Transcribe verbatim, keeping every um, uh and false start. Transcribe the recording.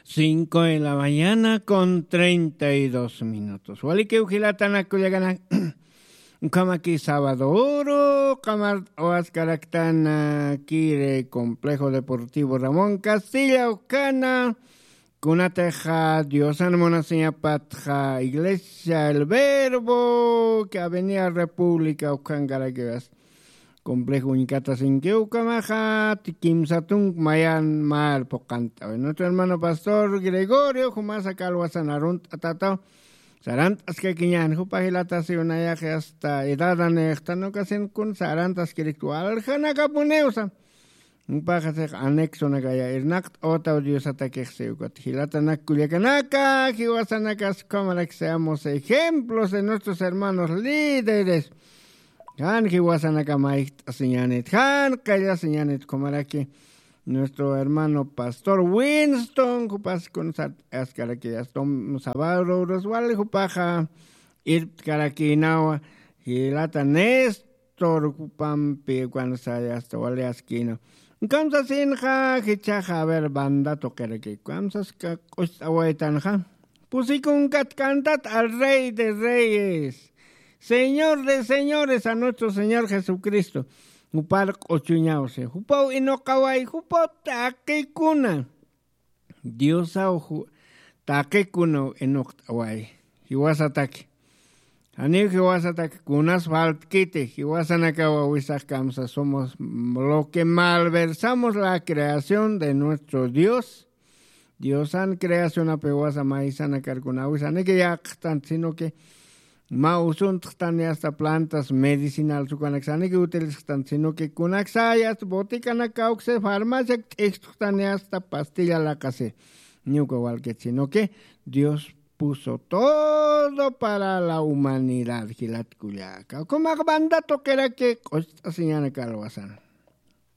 Cinco de la mañana con treinta y dos minutos. Walikiw jilatanak kullakanak. Ukhamaki sabaduru qamart'awaskaraktan kiri Complejo Deportivo Ramón Castilla ukhana. Kunatixa Diosan munasiñapatxa Iglesia El Verbo que Avenida República ukhankarakiwas. Complejo uñkata sinkiw ukhamaxa kimsa tunk mayan mal phuqant'awi. Nuestro hermano pastor Gregorio jumasa kalwasan arunt'atataw. Sarant'askakiñan jupa jilatasiw nayaxi hasta edadanixtan ukasin kun sarantaskiriktu waljanakapuniwsa. Jupaxasix anexonakaya irnaqt'awataw Diosatakixsi ukat jilatanak kullakanaka jiwasanakas ukhamarak seamos ejemplos de nuestros hermanos líderes. Jan jiwasanaka mayjt'asiñanit jan qallasiñanit ukhamaraki nuestro hermano pastor Winston jupas kun sart'askaraki astom sabado uras wali jupaxa irptkarakinawa jilata Néstor jupampi ukansaya hasta wali askinaw. Ukamsasinxa jichhaxa a ver banda tuqiraki ukamsaska q'ust'awaytanxa. Pusikunkat cantat al rey de reyes, señor de señores, a nuestro señor Jesucristo. Jupar q'uchuñawsi jupaw inuqaway jupaw taqikuna. Diosaw taqikunaw inuqt'away. Jiwasataki janiw jiwasataki kunas faltkiti jiwasanakawa wisax kamsa somos lo que malversamos la creación de nuestro Dios. Diosan creacionapi wasa maysanakarkuna awisaniki yaqxtant sino que mä usuntxtani hasta plantas medicinal sukanaksaniki utilizxtant sino que kunaksayast botikanakawksi farmaciak t'ijtxtani hasta pastilla laqasi. Ñuka walkit sino que Dios puso todo para la humanidad jilatkullaka ukhamax banda tuqiraki q'ust'asiñanaka alwasan.